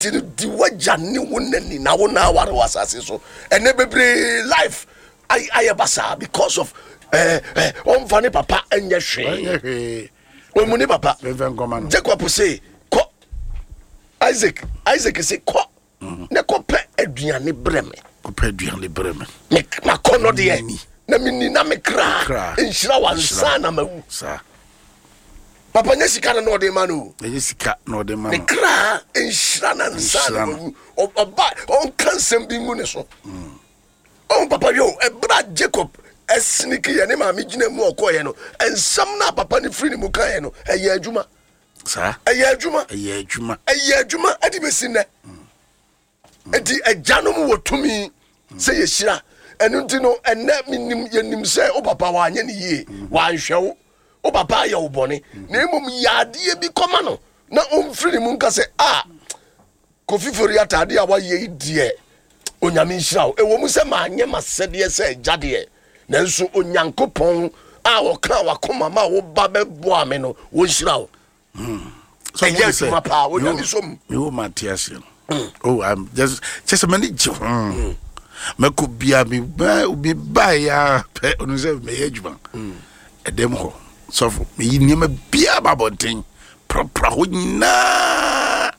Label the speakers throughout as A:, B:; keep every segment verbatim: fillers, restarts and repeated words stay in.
A: Nti no, di w'agya ne wo na ni na wo na aware wɔ asase so. Ɛnɛ bebree life ayɛ basaa because of ɛɛ eh, ɔnfa eh, ne papa nyɛ hwee. Ɔmu ne papa. Jacob se kɔ, Isaac Isaac se kɔ mm. ne kɔpɛ aduane brɛ me.
B: Kɔpɛ aduane brɛ me.
A: Me makɔ no deɛ na menni na me kra nhyira wa nsa na mawu. Papa nyɛ sika na na ɔde ma no o.
B: Ɛnyɛ sika na ɔde ma no.
A: Ne kra nhyira na nsa na wawu. Ɔba ɔnka nsɛm bi ngu ne so. Ɔn papa yɛ o, ɛberɛ a Jacob ɛsiniki yɛ ne maame gyina mu ɔkɔɔyɛ no, nsɛm no a papa no firi ne mu kaeɛ no, ɛyɛ adwuma.
B: Saa.
A: Ɛyɛ adwuma.
B: Ɛyɛ adwuma.
A: Ɛyɛ adwuma ɛde bɛsi nnɛ. Enti agyanom wɔ tumi sɛ yɛhyira. Ɛno nti no, ɛnɛ menim yɛnim sɛ wo papa wanyɛ ne yie, wanhwɛ wo, wo papa ayɛ wo bɔne, na mmom yɛ adeɛ bi kɔma no na ɔmfiri ne mu nka sɛ a Kofi Fori ataadeɛ a wayɛ yi deɛ, Onyame nhyira wo. Ɛwɔ mu sɛ manyɛ m'asɛdeɛ sɛ agya deɛ, nanso Onyankopɔn a ɔkaa wakoma ma wo ba bɛboa me no, wɔnhyira wo. Ɛyɛ adwuma paa, Onyame sɔ mu.
B: Mewo ma te aseɛ no. Oh, I'm just kyɛ sɛ m'ani gye ho. Mɛkɔ bia me baeɛ a pɛ ɔno sɛ mɛyɛ adwuma ɛdɛm hɔ sɔfo, meyi nneɛma biaa ba abɔnten prapra hɔ nyinaa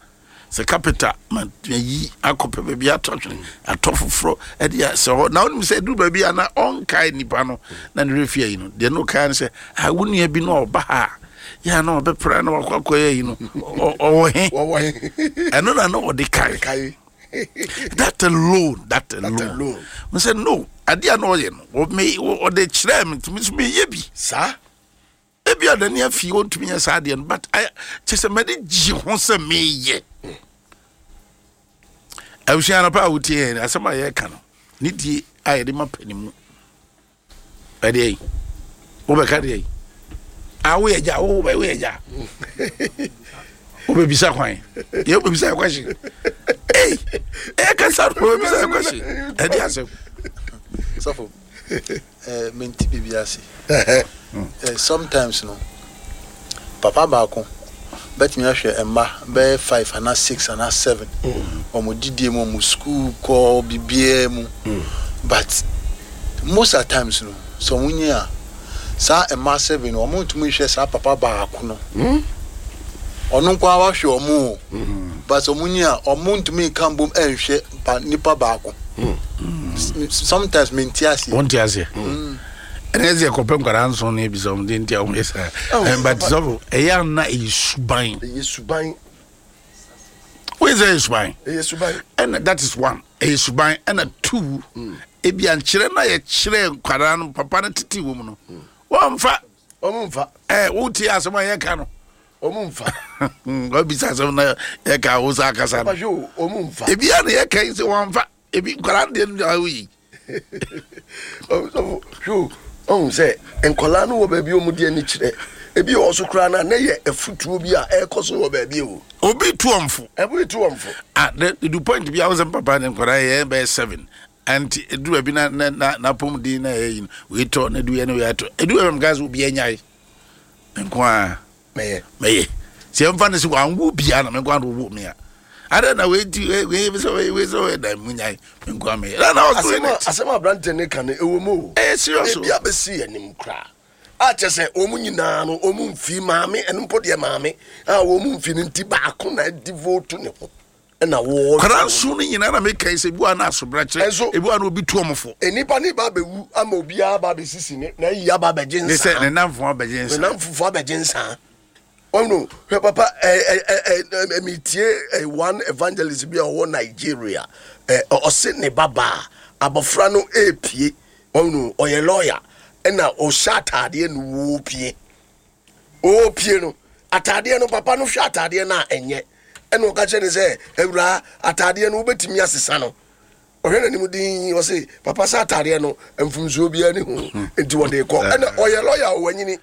B: sɛ carpenter ma mayi akɔpɛ baabi atɔ twene atɔ foforɔ ɛde asɛ hɔ. Na wonim sɛ ɛduru baabi a na ɔnkae nipa no na ne werɛ fi ayi no deɛ no ɔkae no sɛ ah, wo nua bi no a ɔba ha a yɛ a na ɔbɛpra na wakɔ akɔyɛ yi no, ɔwɔ he? Ɛno na na ɔde kae. That alone, that alone, n sɛ no adeɛ a na ɔyɛ no, ɔde kyerɛɛ me ntumi nso meyɛ bi
A: saa.
B: Ebi a n'ani afi ɔntumi nyɛ saa adeɛ no, but kyɛ sɛ mɛde gye ho sɛ meyɛ. Abusua no pa a wotie yɛn asɛm a yɛreka no ne die a yɛde ma panimu ɛdeɛ yi wobɛka deɛ yi a woyɛ gya, wobɛ woyɛ gya, wobɛbisa kwan yɛ wobɛbisa question ei ɛyɛ kasa no wobɛbisa question ɛde asɛm.
C: Sɔfo, eh, menti biribi ase. eh, sometimes no papa baako bɛtumi ahwɛ mma bɛyɛ five anaa six anaa seven, wɔn didie mu, wɔn school kɔ, biribiara mu, but most at times no sɛ wɔn nyi a saa mma seven no, wɔn ntumi nhwɛ saa papa baako no. Ɔno nko ara wahwɛ wɔn o, but sɛ wɔn nyi a wɔn ntumi nka mbom nhwɛ pa nipa baako. Sometimes menti aseɛ.
B: Wonte aseɛ. Ɛnɛ sɛ yɛkɔpɛ nkwadaa nson no ebisa wɔn de nti a wɔyɛ saa. But sɔfo, ɛyɛ ana ɛyɛ suban?
A: Ɛyɛ suban.
B: Woyɛ sɛ ɛyɛ suban.
A: Ɛyɛ suban.
B: Ɛna that is one, ɛyɛ suban. Ɛna two, ebi ankyerɛ na yɛkyerɛ nkwadaa no papa no tete wɔ mu no, wɔmfa.
A: Wɔn mfa.
B: Ɛɛ wotie asɛm a yɛka no.
A: Wɔn mfa.
B: Wabisa asɛm na yɛka wo sa akasa no.
A: Wɔn mfa.
B: Ebi a na yɛka yi sɛ wɔmfa ebi nkwadaa no deɛ no deɛ awo yi.
A: Ɔsɔfo, ɔhu sɛ nkwadaa no wɔ baabi a wɔn di ani kyerɛ. Ebi wɔ so koraa na ne yɛ afutuo bi a ɛrekɔ so wɔ baabi o.
B: Obi tu wɔn fo.
A: Obi tu wɔn fo.
B: Ah, the the point bi a wɔsɛ papa ne nkwadaa yɛ bɛyɛ seven anti edu baabi na na na n'apɔmuden na ɛyɛ yi no wei tɔ na edu yɛ na wei atɔ edu baabi mu kaa sɛ obi anyae nko a
A: mɛyɛ
B: mɛyɛ sɛ ɛmfa ne sɛ wanwo bia na me nko a na ɔwɔ mi a ada na wei ti wei wei sɛ wei wei sɛ wei da mu nyae me nko a mɛyɛ na na ɔso
A: asɛm a asɛm a aberante ne ka no ɛwɔ mu o.
B: Ɛyɛ serious o.
A: Ebi abɛsi yɛn anim koraa a kyɛ sɛ wɔn nyinaa no wɔn mfi maame, ɛno mpo deɛ maame a wɔn mfi no nti baako na devote ne ho ɛna wɔɔhwɛ.
B: Kwadaa nson no nyinaa na meka yi sɛ ebi wɔ a na asobrakyerɛ,
A: Ɛnso
B: ebi wɔ a na obi tu wɔn fo.
A: Nnipa ne ba abɛwu ama obiara ba abɛsisi ne na ayi aba abɛgye
B: Ne sɛ
A: nsaa.
B: ne namfo abɛgye
A: Ne
B: nsa.
A: namfofo abɛgye nsaa. Ɔno hwɛ papa, ɛ ɛ ɛ ɛ metie ɛ one evangelist bi a ɔwɔ Nigeria, ɛ ɔse ne babaa abɔfra no ɛɛpie. Ɔno ɔyɛ lawyer ɛna ɔhyɛ ataadeɛ no wɔɔpie ɔɔpie no ataadeɛ no, papa no hwɛ ataadeɛ no a ɛnyɛ, ɛna ɔka kyerɛ ne sɛ, awuraa, ataadeɛ no wobɛtumi asesa no. Ɔhwɛ n'anim din, ɔse, papa, sɛ ataadeɛ no mfomsoɔ biara ne ho nti wɔde kɔ. Ɛna ɔyɛ lawyer o, wanyini,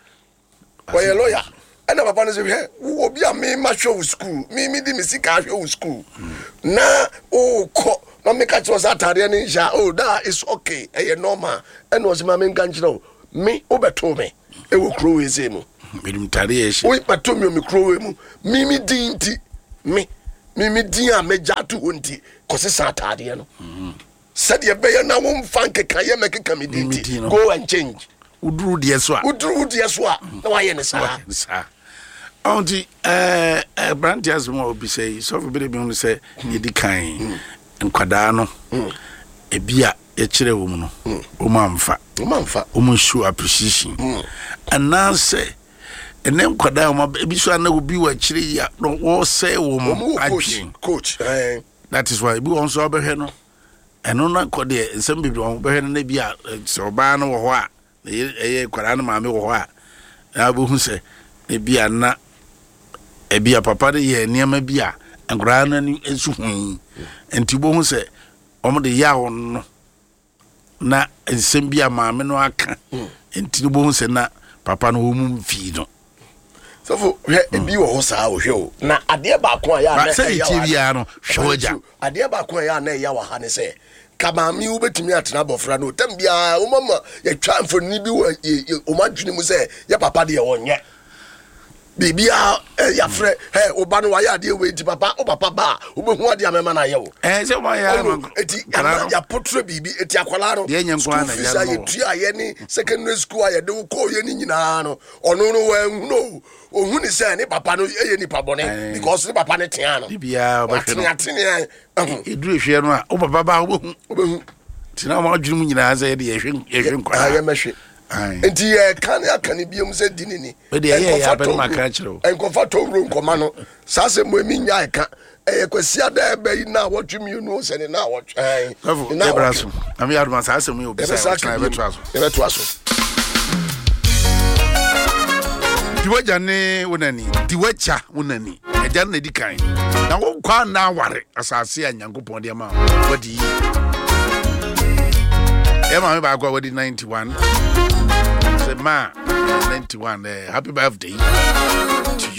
A: ɔyɛ lawyer. Ɛna papa no sɛ, hwɛ wo, obi a mema hwɛ wo school, me me di me sika ahwɛ wo school na wokɔ na meka kyerɛ wo sɛ ataadeɛ no nhyɛ a, oh, that is okay, ɛyɛ normal. Ɛna ɔsɛ ma menka nkyerɛ wo, me wobɛtoo me ɛwɔ kuro wei sei mu.
B: Menim tade yɛ hyɛ.
A: Wobɛtoo me wɔ me kuro wei mu, me me din nti me Mimi din a mɛgya ato hɔ nti kɔsesa ataadeɛ no sɛdeɛ ɛbɛyɛ na womfa nkeka yɛ mɛkeka me din
B: Me din
A: nti
B: no.
A: go and change.
B: Woduru deɛ so a,
A: woduru wo deɛ so a na wayɛ ne saa.
B: Saa ɔn nti ɛɛ aberante asɛm a obisa yi, sɔfo bi de bi hu sɛ yɛdi kan nkwadaa no, ebi a yɛkyerɛ wɔ mu no, wɔn amfa.
A: Womamfa.
B: Wɔn show appreciation anaasɛ ɛnɛ nkwadaa a wɔn aba, ebi so ana obi wɔ akyire yi a na wɔresɛe
A: ɔmo
B: wɔn
A: wɔ coach
B: adwene.
A: Coach ɛn.
B: That is why ebi wɔn nso abɛhwɛ no, ɛno na kɔ deɛ nsɛm bebree wɔn bɛhwɛ no, na bi a eh, sɛ ɔbaa no wɔ hɔ a, na ɛyɛ ɛyɛ nkwadaa no maame wɔ hɔ a, na abɛhu sɛ ebi a na ebi a papa no yɛ nneɛma bi a nkwadaa no ani nso hu yi, nti bohu sɛ wɔn de yaw no na nsɛm bi a maame no aka nti no, bohu sɛ na papa no wɔn mu mfii no.
A: Sɔfo, hwɛ, ebi wɔ hɔ saa o. Hwɛ o, na adeɛ baako a yɛ a na
B: Ba sɛ
A: ɛyɛ
B: tie
A: wɔ ha-
B: biara no, hwɛ w'agya.
A: Adeɛ baako a ɛyɛ a na ɛyɛ wɔ ha ne sɛ ka maame wobɛtumi atena abɔfra no tam biara, womama yɛtwa mfonini bi wɔ yɛ- yɛ- wɔn adwene mu sɛ yɛ papa deɛ wɔnyɛ biribiara. ɛ, yɛafrɛ ɛ woba no wayɛ adeɛ wei nti papa, wo papa ba a wobɛhu adeɛ a mɛma no ayɛ wo.
B: Ɛɛ sɛ wɔn ayɛ ama
A: Ɔno eti
B: nkwadaa
A: ama
B: no.
A: yɛapɔtɔrɔ biribi eti akwadaa no
B: Deɛ ɛnyɛ nko ara
A: school
B: na
A: fees
B: ɛgya
A: a
B: no wɔ.
A: yɛtua yɛ ne secondary school a yɛde wo kɔɔ yɛ ne nyinaa no, ɔno no wɔanhu no, ohun ni sɛ ne papa no yɛ nipa bɔne
B: Ɛɛ.
A: because ne papa ne tea no.
B: De biara ɔbɛhwɛ no.
A: Wateneatenea ɛho.
B: Ɛduru ehwɛ no a, wo papa ba a wobɛhu.
A: Wobɛhu.
B: Nti na wɔn adwene mu nyinaa sɛ yɛde yɛhwɛ yɛhwɛ
A: Ah,
B: nkwadaa.
A: yɛmɛhwɛ.
B: Aye.
A: Nti yɛka ne aka ne biom sɛ di ne ni.
B: Wei deɛ ɛyɛ yɛ
A: Nkɔfa
B: abɛ no
A: tɔwuro-
B: maka akyerɛ wo.
A: Nkɔfa tɔwuro nkɔma no saa sɛ mo emi nya ɛka ɛyɛ Kwasi ada ɛbɛ yi na awɔtwe mmienu sɛ ne na awɔtwe ɛn
B: Sɔfo,
A: ne na
B: yɛbra
A: awɔtwe.
B: so na meyɛ adoma saa asɛm yi obisa.
A: Yɛbɛsa
B: ɔkyena
A: aka biom.
B: yɛbɛtoa so.
A: Yɛbɛtoa so.
B: Di w'agya ne wo nani, di w'agya wo nani, agya no na di kan na wo nkwa na aware asase a Nyankopɔn de ama wo wadi yie. Yɛ maame baako a wadi ninety-one sɛ ma ninety-one, eh, happy birthday to